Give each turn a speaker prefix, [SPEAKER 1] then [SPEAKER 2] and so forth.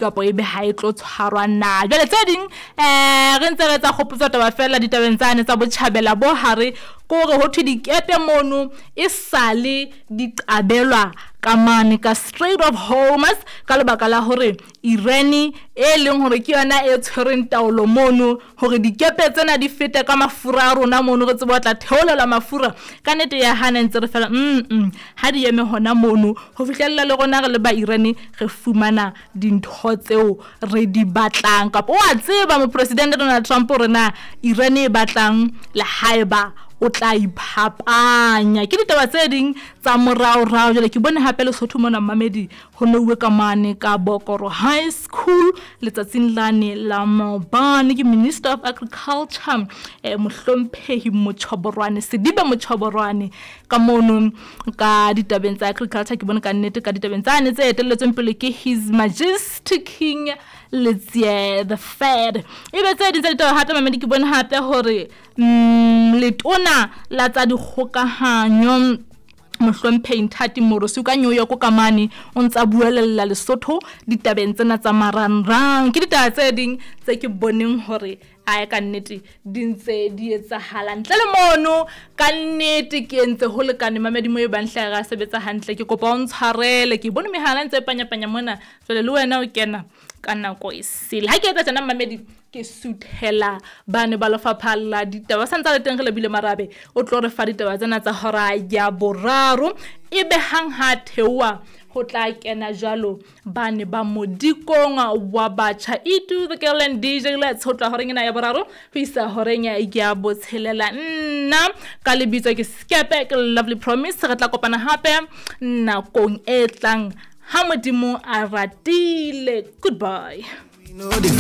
[SPEAKER 1] Kapo ebe ha e tlo tshwarwa na. Jwale tse ding re ntse re etsa kgopotso taba fela ditabeng tsane tsa botjhabela bo hare, ke hore ho thwe dikepe mono e sale di qabelwa ka mane ka Strait of Hormuz ka lebaka la hore Iran e leng hore ke yona e tshwereng taolo mono, hore dikepe tsena di fete ka mafura a rona mono, re tsebe ho tla theolela mafura. Ka nnete ya hana ntse re fela ha di eme hona mono ho fihlella le rona re le ba Iran re fumana dintho tseo re di batlang. Kapa wa tseba mopresidente Donald Trump hore na Iran e batlang le haeba o tla iphapanya. Ke ditaba tse ding tsa moraorao. Jwale ke bone hape Lesotho mona mmamedi ho nouwe ka mane ka Bokoro High School letsatsing lane la maobane. Ke Minister of Agriculture mohlomphehi Mochoborwane, Sedibe Mochoborwane ka mono ka ditabeng tsa agriculture. Ke bone ka nnete ka ditabeng tsane tse etelletsweng pele ke His Majesty King Letsie the Third. Ebe tse ding tsa ditaba hape mamedi ke bone hape hore letona la tsa dikgokahanyo mohlomphehi Nthati Moorosi ka New York ka mane o ntsa buelella Lesotho ditabeng tsena tsa marangrang. Ke ditaba tse ding tse ke boneng hore ae ka nnete di ntse di etsahala. Ntle le mono ka nnete ke entse ho lekane mamedi mo e bang hle ra sebetsa hantle. Ke kopa o ntshwarele, ke bone mehala ntse e panyapanya mona, jwale le wena o kena ka nako e sele. Ha ke etsa tjena mamedi ke suthela bane ba lefapha la ditaba sa ntsa le teng re lebile Marabe o tlo re fa ditaba tsena tsa hora ya boraro. Ebe hang ha theoha ho tla kena jwalo bane ba modikong wa batjha Itu the Girl and DJ Let's ho tla horeng ena ya boraro ho isa horeng ya botshelela. Nna ka lebitso ke Skepe, ke Lovely Promise. Re tla kopana hape nakong e tlang ha Modimo a ratile. Goodbye.
[SPEAKER 2] We know the